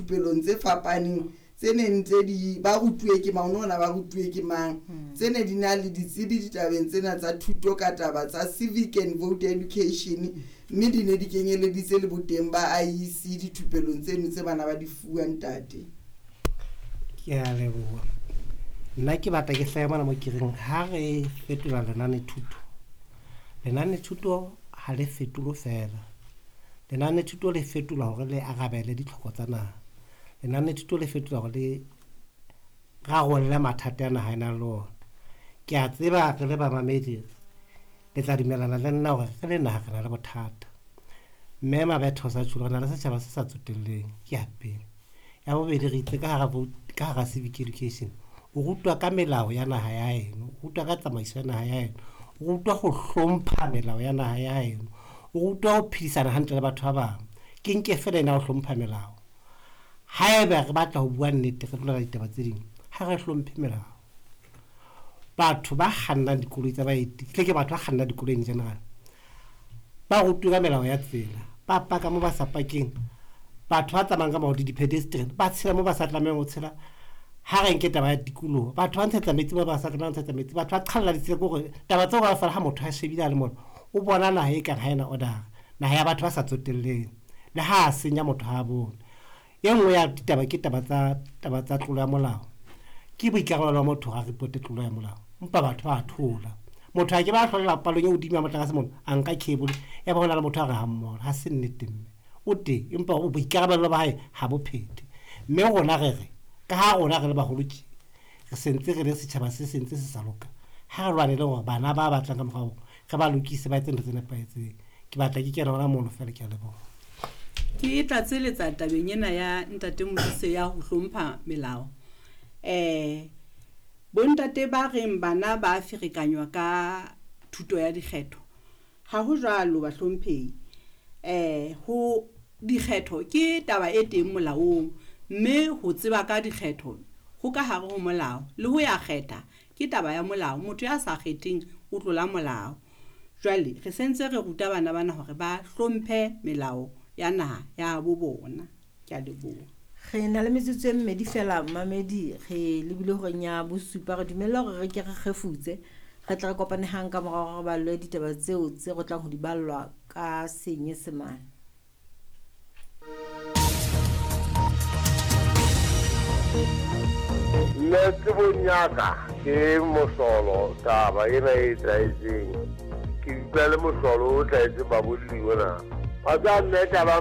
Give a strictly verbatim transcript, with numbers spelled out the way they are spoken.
dithupelong tse fapaneng tse neng tse di ba rutuwe ke mang, ona ba rutuwe ke mang, tse ne di na le ditsebi ditabeng tsena tsa thuto ka taba tsa civic and voter education, mme di ne di kenyeleditse le boteng ba I E C dithupelong tseno tse bana ba di fuwang ntate. Ke a leboha. Nna ke batla ke hlahe mona mo ke reng ha re fetola lenanethuto, lenanethuto ha le fetolwe feela. Lenanethuto le fetolwa hore le arabele ditlhoko tsa naha. Lenanethuto le fetolwa hore le rarolle mathata a naha e nang le ona. Ke a tseba re le bamamedi le tla dumellana le nna hore re le naha re na le bothata. Mme Mabetho sa tjho, re na le setjhaba se sa tsotelleng, ke ya pele. Ya bobedi, re itse ka hara vote, ka hara civic education, o rutwa ka melao ya naha ya heno, o rutwa ka tsamaiso ya naha ya heno, o rutwa ho hlompha melao ya naha ya heno, o rutwa ho phedisana hantle le batho ba bang. Ke nke feela ena ho hlompha melao. Haeba re batla ho bua nnete, re tlola ditaba tse ding, ha re hlomphe melao. Batho ba kgannang dikoloi tsa baeti, tle ke batho ba kgannang dikoloi in general, ba rutwe ka melao ya tsela, ba paka mo ba sa pakeng, batho ba tsamayang ka maoto, di-pedestrian, ba tshela mo ba sa tlamehang ho tshela. Ha re nke taba ya tikoloho, batho ba ntshetsa metsi mo ba sa tlamehang ho ntshetsa metsi, batho ba qhalla ditsela, ke hore taba tseo kaofela ha motho a shebile a le mona, o bona naha e kang ha ena order, naha ya batho ba sa tsotelleng, le ha a senya motho ha a bone. E nngwe ya ditaba ke taba tsa, taba tsa tlolo ya molao. Ke boikarabelo ba motho hore a reporte tlolo ya molao, empa batho ba thola. Motho a ke ba hlolela palong e hodimo ya motlakase mona, a nka cable, ya ba hona le motho a re ha mmoho, ha se nnete mme. O teng, empa o boikarabelo ba hae ha bo phethe. Mme rona re re, ka ha rona re le baholo tje, re sentse re le setjhaba se sentse se sa loka, ha re lwanele hore bana ba batlang ka morao re ba lokise, ba etse ntho tse nepahetseng. Ke batla ke kena hona mono feela, ke a leboha. Ke tlatseletsa tabeng ena ya ntate Modise ya ho hlompha melao. Eh, bontate ba reng bana ba ferekanywa ka thuto ya dikgetho, ha ho jwalo bahlomphehi. Eh, ho dikgetho ke taba e teng molaong, mme ho tseba ka dikgetho ho ka hare ho molao, le ho ya kgetha ke taba ya molao. Motho ya sa kgetheng o tlola molao. Jwale re sentse re ruta bana bana hore ba hlomphe melao ya naha ya bo bona. Ke a leboha. Re na le metsotso e mmedi fela mamedi, re lebile horeng ya bosupa, re dumella hore re ke re kgefutse, re tla re kopane hang ka morao hore re ballwe ditaba tseo tse re tlang ho di ballwa ka Senyesemane. Nna tsebong ya ka ke mohlolo taba ena e etsahetseng. Ke utlwa le mohlolo o tlwaetseng babolli ona. Wa tseba mme taba